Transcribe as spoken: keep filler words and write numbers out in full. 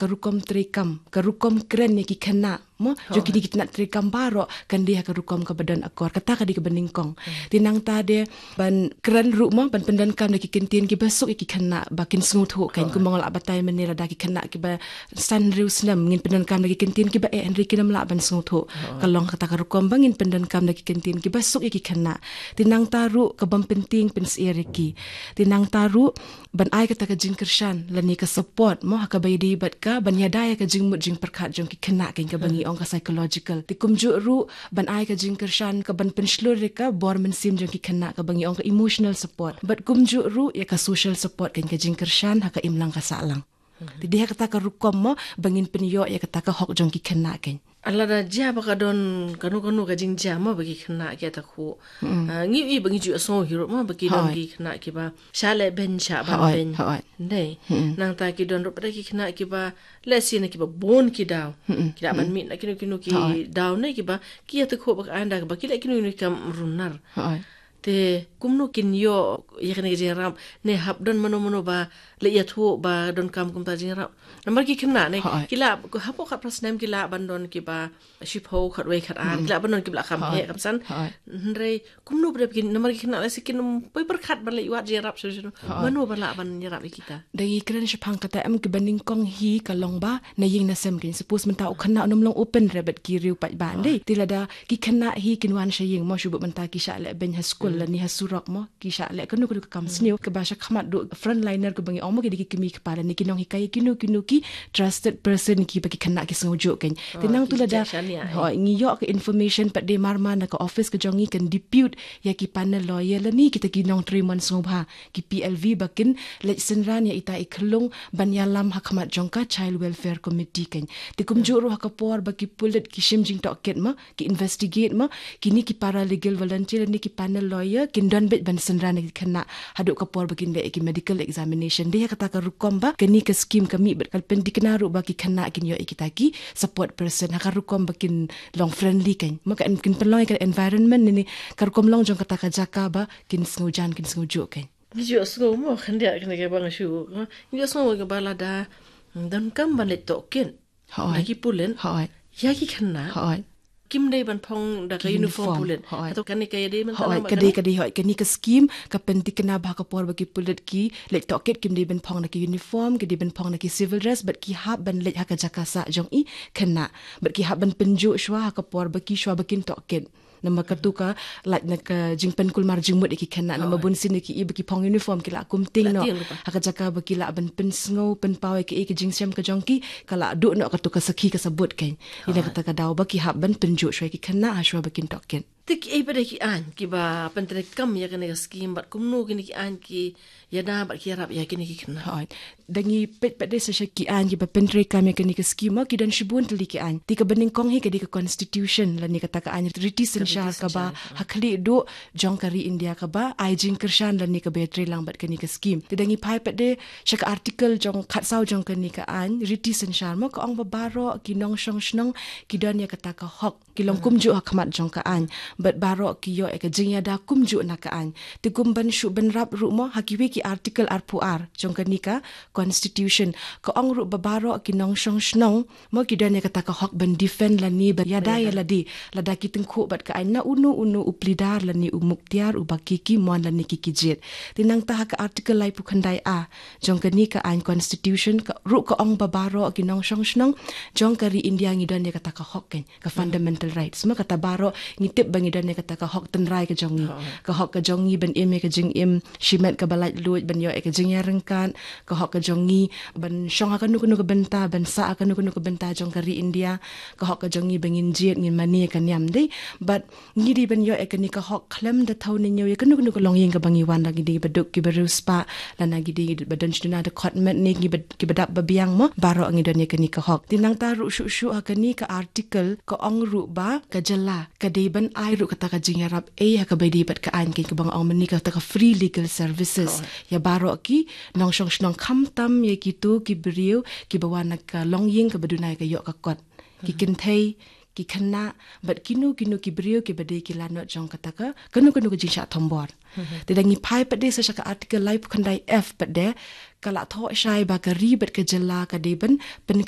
ka rukom treikam, ka rukom kren ïa ki khynnah mo, jong kine ki tnat treikam baroh kan dei ha ka rukom kaba don akor. Kata ka dei kaba nyngkong. Te nangta de ban kren ruh mo, ban pyndonkam da ki kyntien kiba suk ïa ki khynnah ba kin sngewthuh. Kan kumba nga la batai mynne, lada ki khynnah kiba san hynriew snem ngin pyndonkam da ki kyntien kiba eh, hynrei kin ym lah ban sngewthuh. Ka long kata ka rukom ba ngin pyndonkam da ki kyntien kiba suk ïa ki khynnah. Te nangta ruh ka bym pyntieng pynsyier ïa ki. Te nangta ruh ban ai kata ka jingkyrshan lane ka support mo, ha kaba ïadei bad ka ban ïada ïa ka jingmut jingpyrkhat jong ki khynnah, kan kaba ngi ong ka psychological. Te kumjuh ruh ban ai ka jingkyrshan ka ban pynshlur ïa ka bor mynsiem jong ki khynnah, kaba ngi ong ka emotional support. Bad kumjuh ruh ïa ka social support, kan ka jingkyrshan ha ka imlang ka sahlang. Te dei ha kata ka rukom mo ba ngin pynïoh ïa kata ka hok jong ki khynnah, kan. Lada jia ba ka don kano kano ka jingjia mo ba ki khynnah ki ïa takhuh. Ah, ngi ïohi ba ngi ju sngew hi ruh mo ba ki don ki khynnah kiba shah leh beiñ shah ban beiñ. Hooid. Dei. Nangta ki don ruh pat ki khynnah kiba lehse na kiba bun ki daw ki lah ban mih na kino kino ki daw ne kiba ki ïa takhuh ba ka anda ba ki leh kino kino ki kam runar. Hooid. Te kumno kin ïoh ïa kane ka jingïarap, ne hap don mano mano ba leh ïathuh ba donkam kumta jingïarap? Namar ki khynnah ne ki lah hapoh khatphra snem ki lah ban don kiba shiphew, khatwei, khatar, ki lah ban don kiba lah kham heh kham san. Hynrei kumno ba dep kin, namar ki khynnah lehse kin ym poi pyrkhat ban leit wad jingïarap shuh shuh. Mano ba lah ban ïarap ïa kita? Da ngi kren shaphang kata em, kiba nyngkong hi ka long ba na ïing na sem, kan. Suppose mynta u khynnah un ym long open re bad ki riew paidbah, dei. Te lada ki khynnah hi kin wan sha ïing mo, shu bud mynta ki shah leh beiñ ha skul lane ha surok mo, ki shah leh kano kano ka kam sniew, kaba sha khmat duh frontliner kaba ngi ong mo, ki dei ki kmie kpa lane ki nonghikai, kino kino ki trusted person kiba ki khynnah ki sngewjuh, kan. Te nangta lada, hooid, ngi ïoh ka information pat de marmar na ka office ka jong ngi, kan depute ïa ki panel lawyer lane kita ki nongtrei mon sngewbha, ki P L V, ba kin leit synran ïa ita i khyllung ban ïalam ha khmat jong ka Child Welfare Committee, kan. Te kumjuh ruh ha ka por ba ki pulit ki shim jingtohkit mo, ki investigate mo, kine ki paralegal volunteer ne ki panel lawyer kin don beit ban synran ïa ki khynnah haduh ka por ba kin leh ïa ki medical examination. Dei ha kata ka rukom ba kane ka scheme ka mih bad ka pynthikna ruh ba ki khynnah kin ïoh ïa kita ki support person ha ka rukom ba kin long friendly, kan. Mo, kan kin pynlong ïa ka environment ne, ne ka rukom long jong kata ka jaka ba kin sngewjan, kin sngewjuh, kan. Ngi ju sngew mo, khyndiat kane kaba nga shu, ngi ju sngew kaba lada donkam ban leit tohkit, hooid, da ki pulit, hooid, ïa ki khynnah, hooid, kim dei ban phong da ka uniform, uniform, pulit. Hooid. Hato kane ka ïadei mynta, hooid, ka dei, ka dei, hooid. Kane ka scheme ka pynthikna ba ha ka por ba ki pulit ki leit tohkit kim dei ban phong da ki uniform, ki dei ban phong da ki civil dress, bad ki hap ban leit ha ka jaka sah jong i khynnah, bad ki hap ban pynjuh shuwa ha ka por ba ki, shuwa ba kin tohkit. Namar katu ka lait na ka jingpynkulmar jingmut ïa ki khynnah, namar bunsien ïa ki, i ba ki phong uniform ki lah kum tieng noh ha ka jaka ba ki lah ban pynsngew pynpaw ïa ki, ïa ki jingshem ka jong ki, ka lah duh noh katu ka sakhi ka sabut, kan. Ïa kata ka daw ba ki hap ban pynjuh shuwa ïa ki khynnah ha shuwa ba kin tohkit. Te kiei pat de ki aiñ kiba pyntreikam ïa kane ka scheme bad kumno kine ki aiñ ki ïada bad ki ïarap ïa kine ki khynnah? Hooid. Da ngi peit pat de sa sha ki aiñ kiba pyntreikam ïa kane ka scheme, ki don shibun tylli ki aiñ. Te kaba nyngkong hi ka dei ka constitution lane kata ka aiñ riti synshar kaba ha khlieh duh jong ka ri India kaba ai jingkyrshan lane kaba ïatreilang bad kane ka scheme. Te da ngi phai pat de sha ka article jong khatsaw jong kane ka aiñ riti synshar mo, ka ong ba baroh ki nongshong shnong ki don ïa kata ka hok, ki long kumjuh ha khmat jong ka aiñ, bad baroh ki ïoh ïa ka jingïada kumjuh na ka aiñ. Te kum ban shu bynrap ruh mo, ha kiwei ki article arphew ar jong kane ka constitution, ka ong ruh ba baroh ki nongshong shnong mo ki don ïa kata ka hok ban defend lane ban ïada ïa lade lada ki tyngkhuh bad ka aiñ na uno uno u plie dar lane u muktiar uba ki ki mon lane ki ki jied. Te nangta ha ka article laiphew khyndai A jong kane ka aiñ constitution ka ruh ka ong ba baroh ki nongshong shnong jong ka ri India ngi don ïa kata ka hok, kan, ka fundamental rights. Ma kata baroh ngi tip ba ngi don ïa kata ka hok tynrai ka jong ngi. Ka hok ka jong ngi ban im ïa ka jingim shimet kaba laitluid, ban ïoh ïa ka jingïaryngkat, ka hok ka jong ngi ban shong ha kano kano ka bynta, ban sah ha kano kano ka bynta jong ka ri India, ka hok ka jong ngi ba ngin jied, ngin mane ïa ka niam, dei. Bad ngi dei ban ïoh ïa kane ka hok khlem da thaw ne ñiew ïa kano kano ka longïing kaba ngi wan, la ngi dei ba duk kiba riewspah, lane ngi dei ba don sha duna da khot met ne ngi ba, kiba dap ba biang mo, baroh ngi don ïa kane ka hok. Te nangta ruh shuh shuh ha kane ka article ka ong ruh ba ka jylla ka dei ban ai ruh kata ka jingïarap ei ha kaba ïadei bad ka aiñ, kaba nga ong mynne kata ka free legal services ïa baroh ki nongshong shnong, khamtam ïa kito ki briew kiba wan na ka longïing kaba duna ïa ka ïoh ka kot. Ki kynthei, ki khynnah bad kino kino ki briew kiba dei ki lanot jong kata ka kano kano ka jingshah thombor. Te da ngi phai pat de sa sha ka article laiphew khyndai F pat de, ka la thoh shai ba ka ri bad ka jylla ka dei ban pynkylla